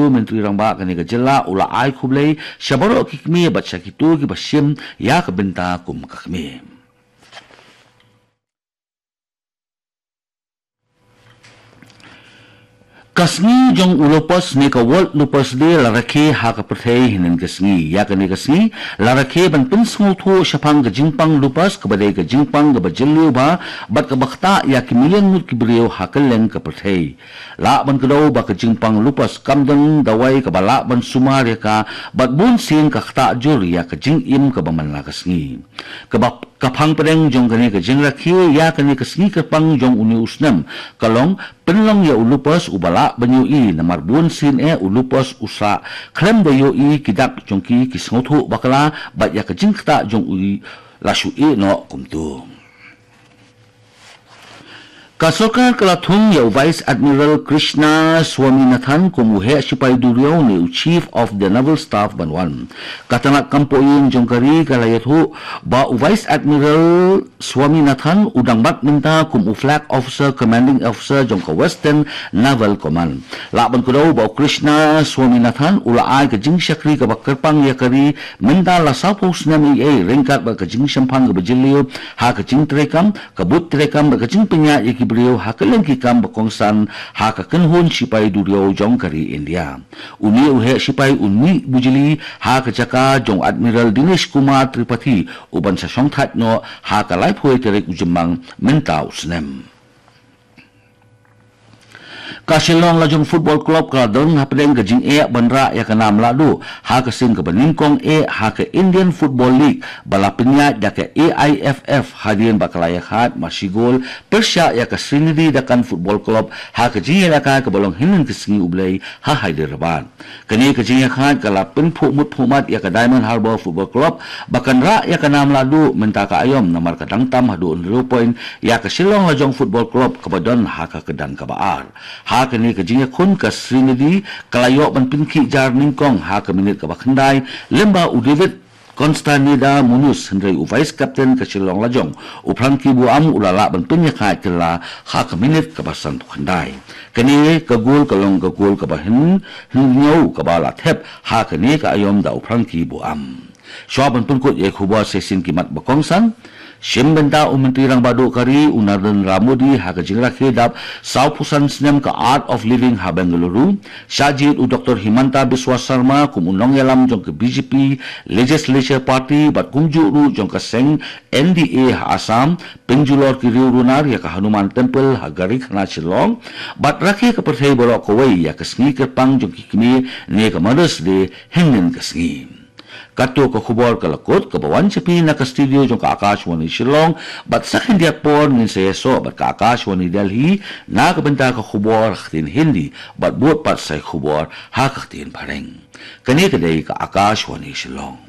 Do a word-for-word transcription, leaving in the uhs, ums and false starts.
Myntri Rangbah kane ka jylla u la ai khublei sha baroh ki kmie bad sha kito kiba shim ïa ka bynta kum ka kmie. Ka sngi jong u lupus ne ka World Lupus Day la rakhe ha ka pyrthei hynnin ka sngi. Ïa kane ka sngi la rakhe ban pynsngewthuh shaphang ka jingpang lupus, kaba dei ka jingpang kaba jylliew bha bad kaba ktah ïa ki million ngut ki briew ha kylleng ka pyrthei. Lah ban kdew ba ka jingpang lupus kam don dawai kaba lah ban sumar ïa ka, bad bun sien ka ktah jur ïa ka jingim kaba man la ka sngi. Kaba ka phang pdeng jong kane ka jingrakhe ïa kane ka sngi kyrpang jong une u snem ka long pynlong ïa u lupus uba lah ban ïohi, namar bun sien eh u lupus u sah khlem da ïohi. Ki dak jong ki ki sngewthuh bakla bad ïa ka jingktah jong u la shu ïeh noh kumto. Ka sorkar ka la thung ïa u Vice Admiral Krishna Swaminathan kum u heh shipai duriaw ne u Chief of the Naval Staff ban wan. Ka tnat kam poh ïing jong ka ri ka la ïathuh ba u Vice Admiral Swaminathan u dang bat mynta kum u Flag Officer, Commanding Officer jong ka Western Naval Command. Lah ban kdew ba u Krishna Swaminathan u la ai ka jingshakri kaba kyrpang ïa ka ri mynta la sawphew snem ei ei, ryngkat bad ka jingshemphang kaba jylliew ha ka jingtreikam, ka bud treikam bad ka jingpynïaid ïa ki briew ha kylleng ki kam ba kongsan ha ka kynhun shipai duriaw jong ka ri India. Une u heh shipai un mih bujli ha ka jaka jong Admiral Dinesh Kumar Tripathi uban sa shongthait noh ha ka laiphew tarik u Jymmang mynta u snem. Ka Shillong Lajong Football Club ka la don hapdeng ka jingeh ban rah ïa ka nam lahduh ha ka sien kaba nyngkong eh ha ka Indian Football League ba la pynïaid da ka A I F F hadien ba ka la ïakhaid mar shi gol pyrshah ïa ka Srinidhi Dakan Football Club ha ka jingïalehkai kaba long hynnin ka sngi U Blei ha Hyderabad. Kane ka jingïakhaid ka la pynphuh mut phuh mat ïa ka Diamond Harbour Football Club ba kan rah ïa ka nam lahduh mynta ka aïom, namar ka dang tam haduh hynriew point ïa ka Shillong Lajong Football Club kaba don ha ka kyrdan kaba ar. Ha kane ka jingïakhun ka Srinidhi ka la ïoh ban pynkhih jar nyngkong ha ka minit kaba khyndai, lem bad u David Constanida Munoz, hynrei u vice captain ka Shillong Lajong, u Frankie Buam, u la lah ban pynïakhaid kylla ha ka minit kaba sanphew khyndai. Kane ka gol ka long ka gol kaba hyn, hynñiew kaba la thep ha kane ka aïom da u Frankie Buam. Shuwa ban pynkut ïa ki khubor sa shisien ki mat ba kongsan. Shim bynta u Myntri Rangbah Duh ka ri u Narendra Modi ha ka jingrakhe dap sawphew san snem ka Art of Living ha Bengaluru. Shah jied u Doctor Himanta Biswa Sarma kum u nongïalam jong ka B J P Legislature Party bad kumjuh ruh jong ka seng N D A ha Assam. Pynjulor ki riew runar ïa ka Hanuman Temple ha Garikhana Shillong bad rakhe ka pyrthei baroh kawei ïa ka sngi kyrpang jong ki kmie ne ka Mother's Day hynnin ka sngi. Kato ka khubor ka la kut kaba wan sha phi na ka studio jong ka Akashvani Shillong, bad sa khyndiat por ngin sa ïasoh bad ka Akashvani Delhi na ka bynta ka khubor ha ka ktien Hindi bad bud pat sa ki khubor ha ka ktien Phareng. Kane ka dei ka Akashvani Shillong.